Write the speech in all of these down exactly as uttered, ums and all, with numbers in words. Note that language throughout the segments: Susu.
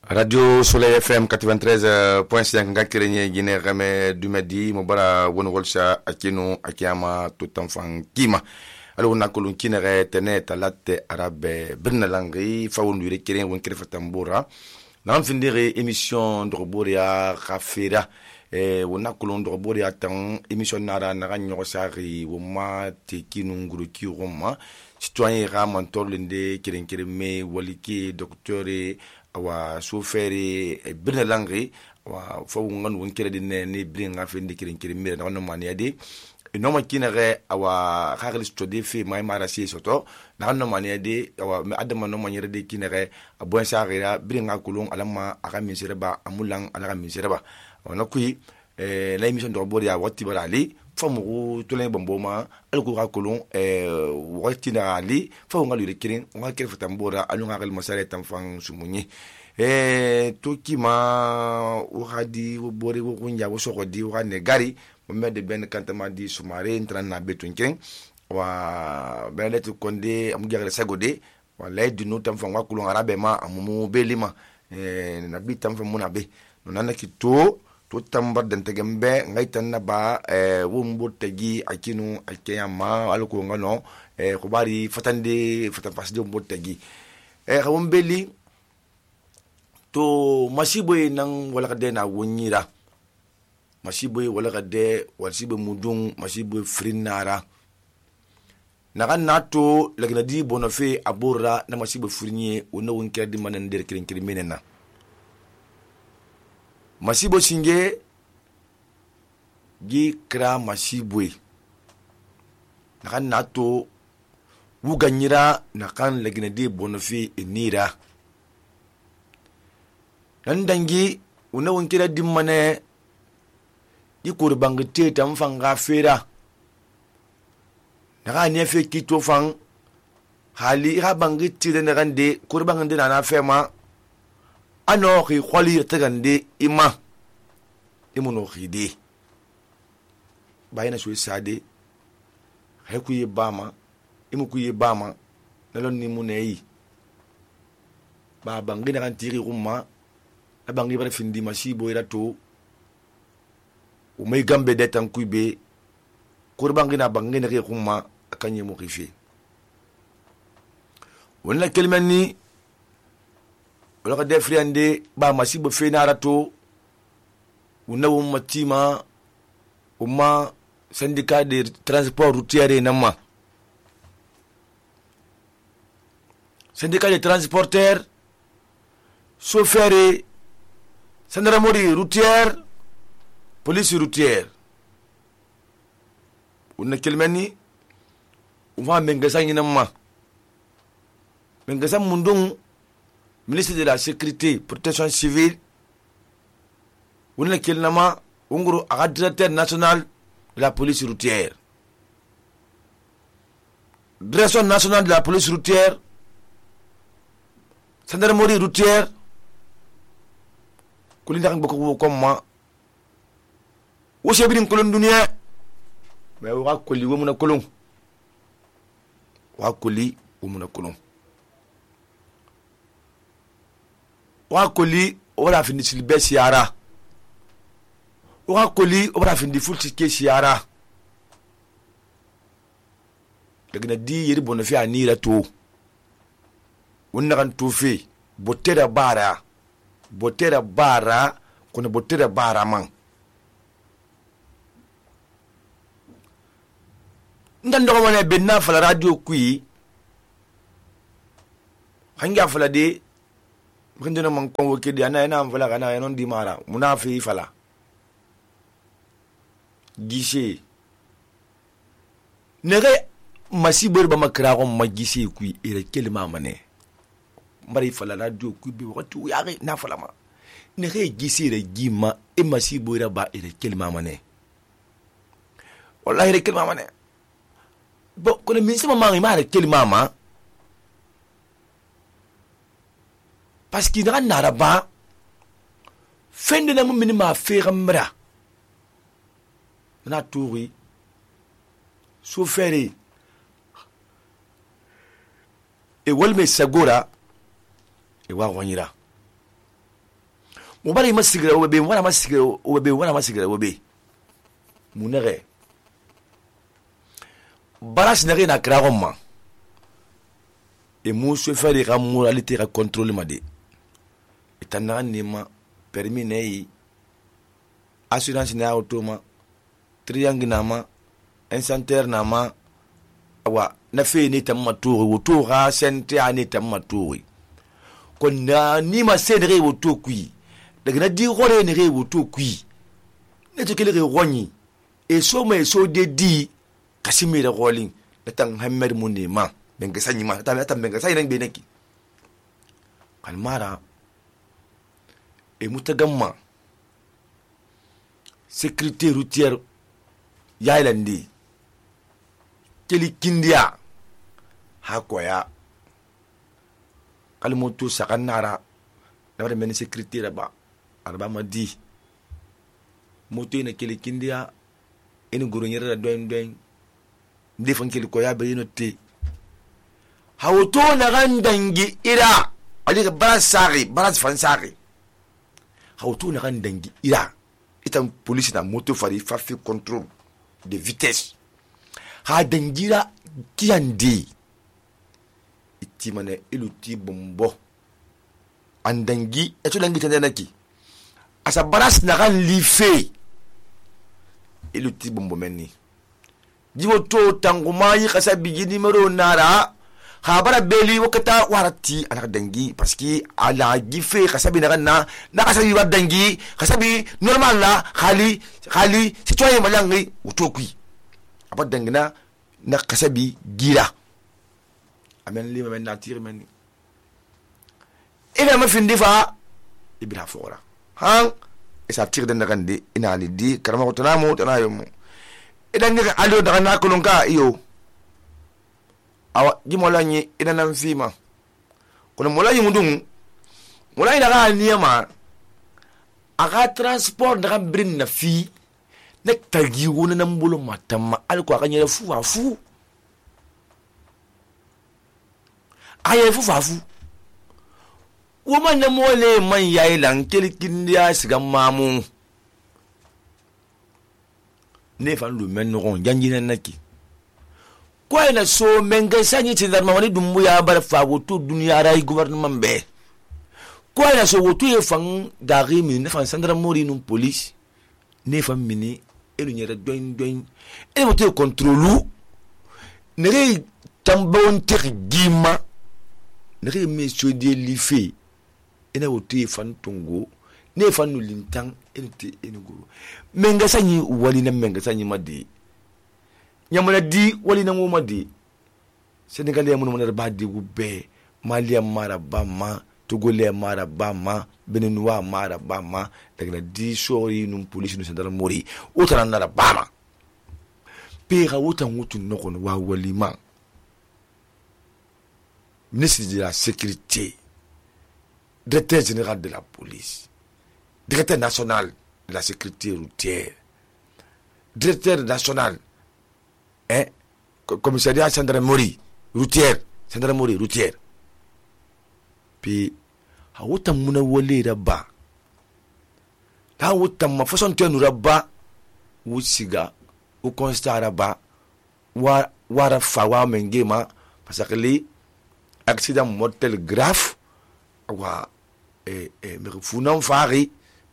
Radio Soleil F M quatre-vingt-treize point cinq nga kerenye gine game dumedi mobara wono golsha akino akiyama tutanfan kima alo na kolon kinere tene talate arabe birnalangi fawundure keren won krefa tambura na mfindire émission droboria khafira e wona kolon droboria tan émission nara na ganyo sari woma tekinu nguru ki roma citoyen ra mantolinde keren keren me waliki docteur wa sofere birna langri wa fo ngan won kere dinne ni bringa fe ndikirin kirin mire no mani ade no ma kinere awa khagli stodi fe may marasi soto na no mani ade awa me adama no mani rede kinere abon sagira bringa kulun alama aka misire ba amulan alaka misire ba wana kui eh la émission de Roboria wati barali famu tolen bomboma alko ka kulun eh wati na ali fa ngal yure kirin ngal kere fatambora alunga gal masare tamfan sumunyi eh toki ma wadi bori wo kunja wo sokodi wo ne gari mo de ben kantama di sumare intran na betun kirin wa benetu konde am gare sagode wa lady no tamfan wa kulun arabe ma amumu belima eh na bitam fa munabe no nanaki to to tambar dan tegembe ngai tanna ba eh wumbo tegi akinu akiyama alko ngano eh ko bari fatande fatan pasde wumbo tegi eh xawum beli to masiboy nan wala kade na wonyira masiboy wala kade wasibe mudun masiboy frinara naga nato lagna di bonofe abura na masiboy frinye wona won kedi manan der kirin kirin menena masibo singe gi kra masibwe nakan nato wuganyira nakan lagina de bonofi enira nan dangi una wonkira dimmane di kurbangite tam fanga fera naka ne fe kito fan hali ha bangiti de nagande kurbangande na fema ano khi kholi tagandi ima imuno khidi bayina sui sade heku ye bama imu ku ye bama nalon ni munei ba bangi na kan tiri rumma abangi bara findi masibo ira to o may gambe de tan kuibe kurbangi na bangi na ke rumma akanye mo khifi wala kelmani wala de friande ba masibo fenara to una wo matima umma syndicat de transport routier nama syndicat de transporteurs chauffeurs gendarmerie routière police routière una kelmani uma mengasa nyinama mengasa mundung ministre de la sécurité protection civile wona kelnama unguru aga directeur national de la police routière direction nationale de la police routière gendarmerie routière kulinda kan boko komma wo sebirin kolon dunia mais wa koli wo muna kolon wa koli wo muna kolon wa koli wala findi silbe siara wa koli wala findi fulti ke siara daga di yiri bono fi anira to wonna kan to fi botera bara botera bara kono botera bara man ndan do mo ne benna fala radio kui hanga fala de mkindina man kongo kidi ana ena mfala kana yanon di mara munafi fala gishe nere masibor ba makra ko magishe ku ire kelma mane mari fala radio ku bi watu yare na fala ma nere gishe re gima e masibor ba ire kelma mane wallahi ire kelma mane bo ko le minsi ma ma ire kelma ma parce qu'il n'a n'a pas fin de l'amour minima faire mra na touri souffrir et walme sagora e wa wanyira mo bara ma sigira o be wala ma sigira o be wala ma sigira o be munere baras nere na kra ma e mu se faire ka moralité ka contrôle ma de etana ni ma permis nei assurance na auto ma triangle na ma un centre na ma wa na fe ni tamma to wo to ga sente ani tamma to ko na ni ma se ne wo to kui daga na di gore ne wo to kui ne to kele ronyi e so ma e so de di kasimi da rolling da tan hammer mun ne ma ben ga sanyi ma ta ta ben ga sanyi nan be neki kalmara e mutagamma sécurité routière yailandi keli kindia hakoya kalmoto sakanara dabare men sécurité raba arba madi moto ina keli kindia ina goronyera doin doin defan keli koya be note hawoto na gandangi ira ali bara sari bara fansari hawoto na gandangi ira itam police na moto fari fa fi contrôle de vitesse ha dangira kiandi iti mane iluti bombo andangi eto dangi tandanaki asa baras na kan life iluti bombo menni jiwo to tangumayi kasa bigi numero nara habara beli wakata warati ana dangi parce que ala gife kasabi na na na kasabi wa dangi kasabi normal la khali khali citoyen malangi utokui apa dangina na kasabi gira amen li men natir men ina ma finde fa ibra fora han esa tir den ngande ina ali di karama ko tanamo tanayo mo idan ni alo daga na kulunka iyo awa gimolanyi ina nan fima kuna molanyi mudun molanyi daga niyama aga transport daga brin na fi na tagi wona nan bulu matamma alko aka nyere fu afu aye fu afu woman na mole man yayi lan kelkin dia siga mamu ne fan lu men no janjina naki kwa ina so menga sanyi tindar mawani dumbu ya bar fa woto duniya rai gouvernement be kwa ina so woto ye fan dari mi ne fan sandra mori num police ne fan mini elu nyere doin doin e woto contrôle ne re tambon tek gima ne re monsieur de life ina woto ye fan tungo ne fan nu lintang ene te ene guru menga sanyi wali na menga sanyi madi nyamala di wali na ngoma di Senegalais mun mun ba di gube Mali mara bama Togolais mara bama Beninois mara bama daga na di sori num police nu sendal mori utara na bama pe ga wutan wutun noko wa wali ma ministre de la sécurité directeur général de la police directeur national de la sécurité routière directeur national hein commissariat gendarmerie routière gendarmerie routière puis hawuta muna wole raba ta wuta ma façon tenu raba wusiga u constat raba wa wara fawa mengema parce que les accident mortel grave wa eh eh me funan fari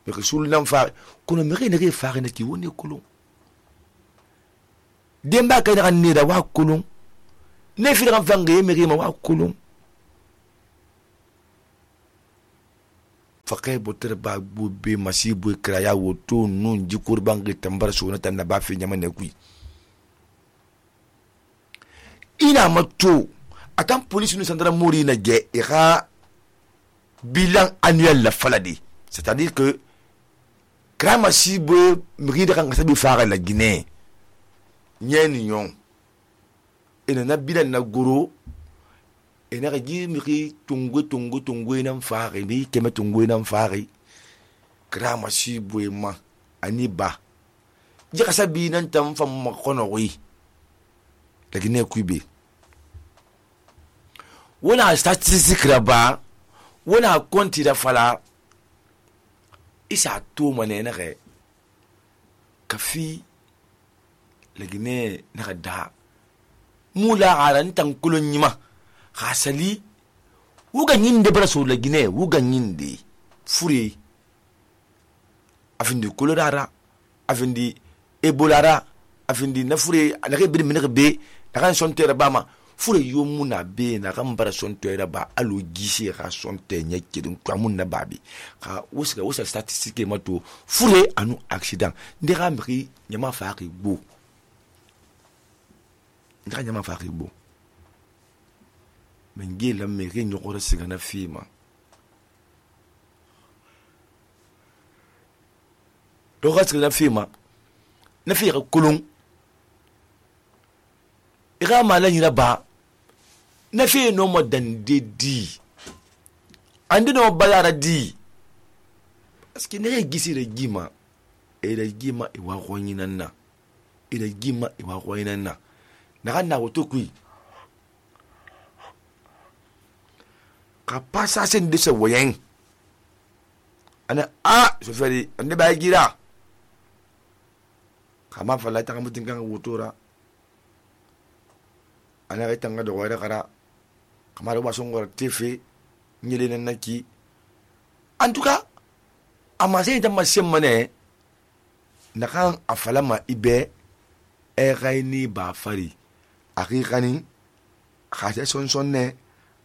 me sul nan fari kono me ne fari na ki woni kulun demba ka na ni da wa kulun ne fi ran vange me ma wa kulun fakay boter ba bu be masibu kraya woto nun ji kurban ge tambar so na tan ba fi nyama ne kui ina mato atan police nu sandra mori na ge ira bilan annuel la faladi c'est-à-dire que krama sibu mri da kan sabi fara la Guinée nyeni nyon ina na bilan na goro ina ga ji mri tungu tungu tungu ina fara ni keme tungu ina fara krama sibu ma ani ba ji ka sabi nan tam fam makono wi la Guinée kuibe wona statistique raba wona konti da fala isa to mane na ge kafi lagine na da mula aran tan kulun yima hasali wuga nyinde bara so lagine wuga nyinde fure afindi kolorara afindi ebolara afindi na fure na ke bir minere be na kan son tere bama fure yo muna be na kan bara son tere ba alo gisi ka son te nya kidin kwamun na babi ka wusa wusa statistique mato fure anu accident ndira mri nyama faaki bo ndira nyama faaki bo mengi la meri nyokora sigana fima do sigana fima na fi kulun ira mala nyina ba na fi no mo dan dedi andi no balara di parce que ne gisi re gima e re gima e wa khonyina na e re gima e wa khonyina na na kana woto kui ka pasa sen de se woyen ana a so feri ande ba gira kama fala ta kamu tingkan wutura ana ga tanga do wara kara kamar ba son gor tefe nyele nan naki en tout cas ama sai ta masem mane na kan afalama ibe e gaini ba fari akikani khaje son son ne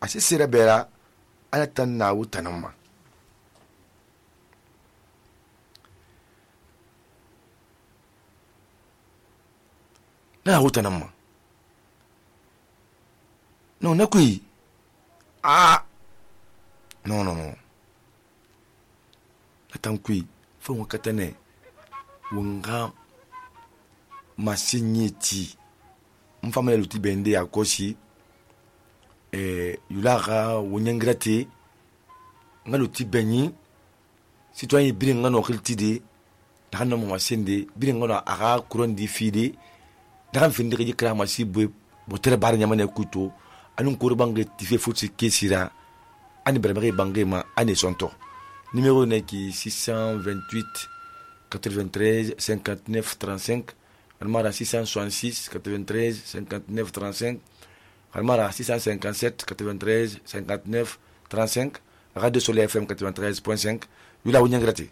ase sira bera ana tan na wutanama na wutanama non na kui ah non non non la tan kui fo mo katane wonga masinyeti mfamele luti bende akoshi eh yulaga wonyangrate ngaluti benyi citoyen birin ngano khiltide dakanna mo masende birin ngano aga kurondi fide dakan finde ke kra masibu botere bar nyamane kuto anun kurbange tife futi kesira ani berbere bange ma ani sonto numéro neki six cent vingt-huit quatre-vingt-treize cinquante-neuf trente-cinq almara six cent soixante-six quatre-vingt-treize cinquante-neuf trente-cinq almara six cent cinquante-sept quatre-vingt-treize cinquante-neuf trente-cinq Radio Soleil F M quatre-vingt-treize point cinq yula wunyangrati